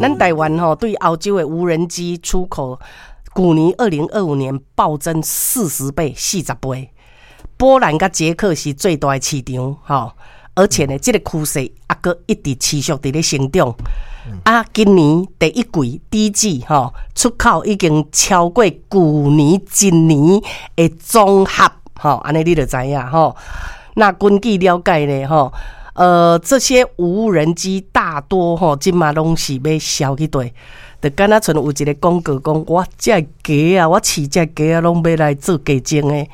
咱台灣吼對歐洲的無人機出口，舊年2025年暴增40倍，40倍。波蘭佮捷克是最大的市場，吼，而且呢，這個趨勢猶閣一直持續佇咧成長。啊，今年第一季第一季吼，出口已經超過舊年一年的總和，吼，按呢你就知影吼。那根據了解呢，吼，這些無人機大多吼，這馬攏是欲銷去佗？就敢若像有一個廣告講，我這雞仔，我飼這雞仔攏欲來做雞精的。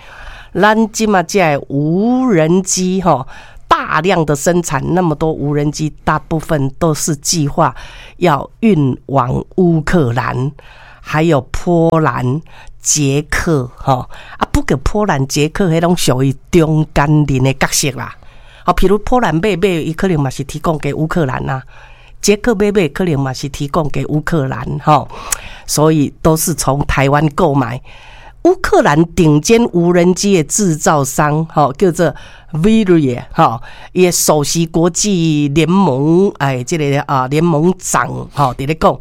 咱這馬這無人機吼，大量的生產那麼多無人機，大部分都是計劃要運往烏克蘭，還有波蘭、捷克，吼啊，不過波蘭、捷克彼攏屬於中間人的角色啦。好，譬如波蘭買買，伊可能嘛是提供給烏克蘭啦；捷克買買，可能嘛是提供給烏克蘭，吼。所以都是從台灣購買。烏克蘭頂尖無人機的製造商，吼，叫做 Vyriy，吼，伊的首席國際聯盟，哎，這個啊聯盟長，吼，佇咧講，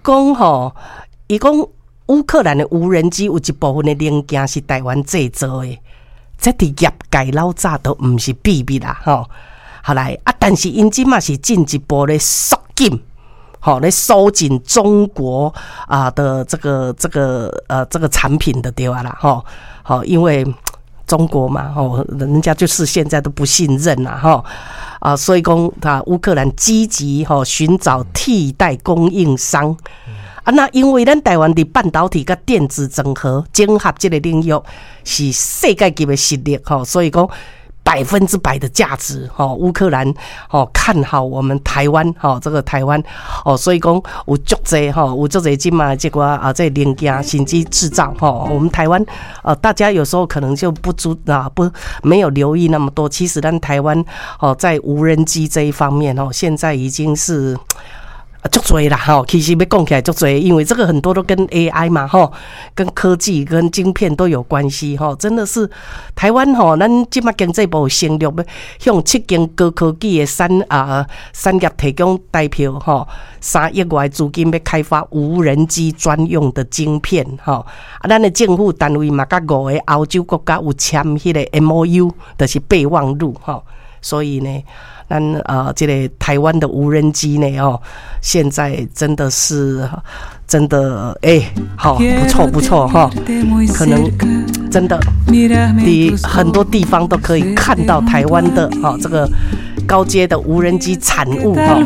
講吼，伊講烏克蘭的無人機有一部分的零件是台灣製造的，這佇業界老早都毋是秘密啦，吼。後來啊，但是𪜶這馬是進一步咧縮緊。好，來收緊中國啊的這個產品的對吧啦？吼，好，因為中國嘛，吼，人家就是現在都不信任啦，吼，啊，所以講他烏克蘭積極吼尋找替代供應商啊。那因為咱台灣佇半導體佮電子整合這個領域是世界級的實力，吼，所以講100%的價值，吼，烏克蘭吼看好我們台灣，吼，這個台灣哦，所以講有足濟吼，有足濟這馬這個啊，這個零件甚至製造吼，我們台灣大家有時候可能就不知啊，不沒有留意那麼多。其實咱台灣哦，在無人機這一方面哦，現在已經是足濟啦吼，其實欲講起來足濟，因為這個很多都跟 AI 嘛吼，跟科技、跟晶片都有關係吼，真的是台灣吼，咱這馬經濟部承諾欲向七間高科技的產業提供台票吼，3億外資金欲開發無人機專用的晶片吼，啊，咱的政府單位嘛，佮五個歐洲國家有簽彼個 MOU，就是備忘錄吼，所以呢，咱這個台灣的無人機呢，哦，現在真的是真的哎，好不錯不錯哈，可能真的，你很多地方都可以看到台灣的哈這個高階的無人機產物哈。